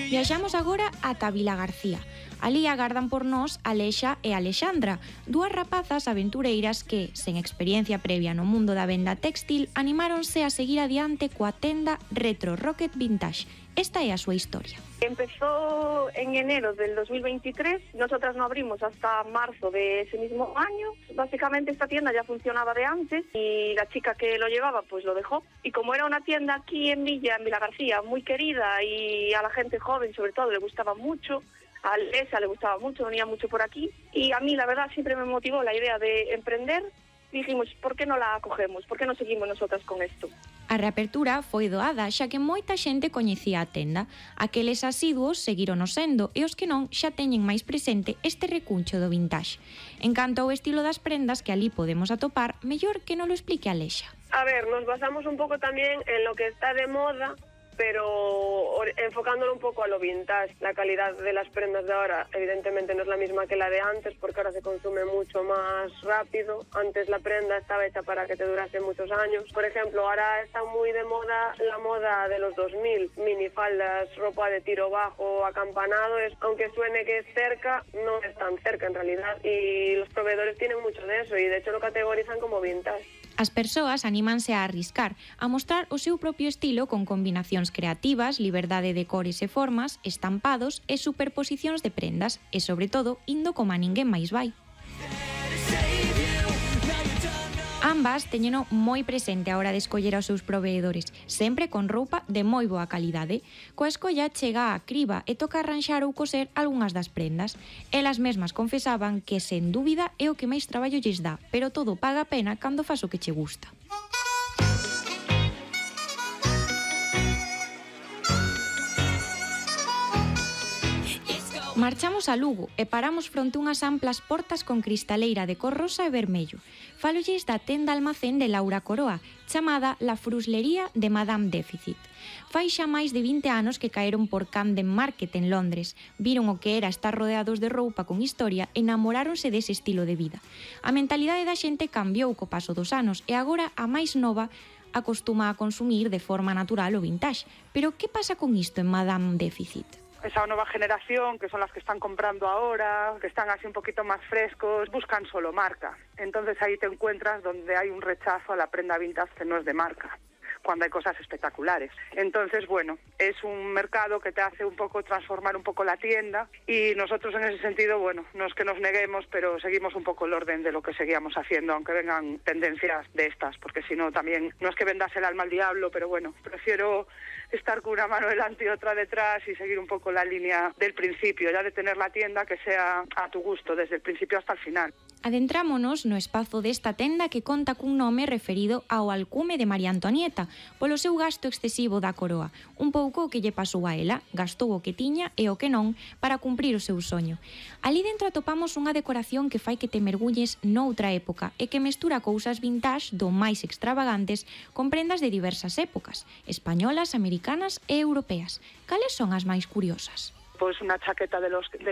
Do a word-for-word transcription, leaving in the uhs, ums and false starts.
Viaxamos agora ata Vila García. Ali agardan por nós Alexa e Alexandra, dúas rapazas aventureiras que, sen experiencia previa no mundo da venda textil, animáronse a seguir adiante coa tenda Retro Rocket Vintage. Esta é a súa historia. Empezó en enero del dos mil veintitrés, nosotras no abrimos hasta marzo de ese mismo año. Básicamente esta tienda ya funcionaba de antes y la chica que lo llevaba pues lo dejó. Y como era una tienda aquí en Villa, en Vila García, muy querida y a la gente joven sobre todo le gustaba mucho, a Alesa le gustaba mucho, venía mucho por aquí y a mí la verdad siempre me motivó la idea de emprender. Dijimos, ¿por qué no la acogemos? ¿Por qué no seguimos nosotras con esto? A reapertura foi doada, xa que moita xente coñecía a tenda. Aqueles asiduos seguirono sendo e os que non xa teñen máis presente este recuncho do vintage. En canto ao estilo das prendas que ali podemos atopar, mellor que non lo explique Alexa. A ver, nos basamos un pouco tamén en lo que está de moda, pero enfocándolo un poco a lo vintage. La calidad de las prendas de ahora evidentemente no es la misma que la de antes porque ahora se consume mucho más rápido. Antes la prenda estaba hecha para que te durase muchos años. Por ejemplo, ahora está muy de moda la moda de los dos mil, minifaldas, ropa de tiro bajo, acampanado. Es, aunque suene que es cerca, no es tan cerca en realidad y los proveedores tienen mucho de eso y de hecho lo categorizan como vintage. As persoas anímanse a arriscar, a mostrar o seu propio estilo con combinacións creativas, liberdade de cores e formas, estampados e superposicións de prendas e, sobre todo, indo como a ninguén máis vai. Ambas teñeno moi presente a hora de escoller aos seus proveedores, sempre con roupa de moi boa calidade. Coa escolla chega a criba e toca arranxar ou coser algunhas das prendas. Elas mesmas confesaban que, sen dúbida, é o que máis traballo lles dá, pero todo paga a pena cando fas o que che gusta. Marchamos a Lugo e paramos fronte unhas amplas portas con cristaleira de cor rosa e vermello. Fálolles da tenda almacén de Laura Coroa, chamada La Fruslería de Madame Déficit. Fai xa máis de vinte anos que caeron por Camden Market en Londres, viron o que era estar rodeados de roupa con historia e enamoráronse dese estilo de vida. A mentalidade da xente cambiou co paso dos anos e agora a máis nova acostuma a consumir de forma natural o vintage. Pero que pasa con isto en Madame Déficit? Esa nueva generación, que son las que están comprando ahora, que están así un poquito más frescos, buscan solo marca. Entonces ahí te encuentras donde hay un rechazo a la prenda vintage que no es de marca, cuando hay cosas espectaculares. Entonces, bueno, es un mercado que te hace un poco transformar un poco la tienda y nosotros en ese sentido, bueno, no es que nos neguemos, pero seguimos un poco el orden de lo que seguíamos haciendo, aunque vengan tendencias de estas, porque si no también, no es que vendas el alma al diablo, pero bueno, prefiero estar con una mano delante y otra detrás y seguir un poco la línea del principio, ya de tener la tienda que sea a tu gusto, desde el principio hasta el final. Adentrámonos no espazo desta tenda que conta cun nome referido ao alcume de María Antonieta, polo seu gasto excesivo da coroa, un pouco o que lle pasou a ela, gastou o que tiña e o que non para cumprir o seu soño. Ali dentro atopamos unha decoración que fai que te mergulles noutra época e que mestura cousas vintage do máis extravagantes con prendas de diversas épocas, españolas, americanas e europeas. Cales son as máis curiosas? Pues una chaqueta de los de la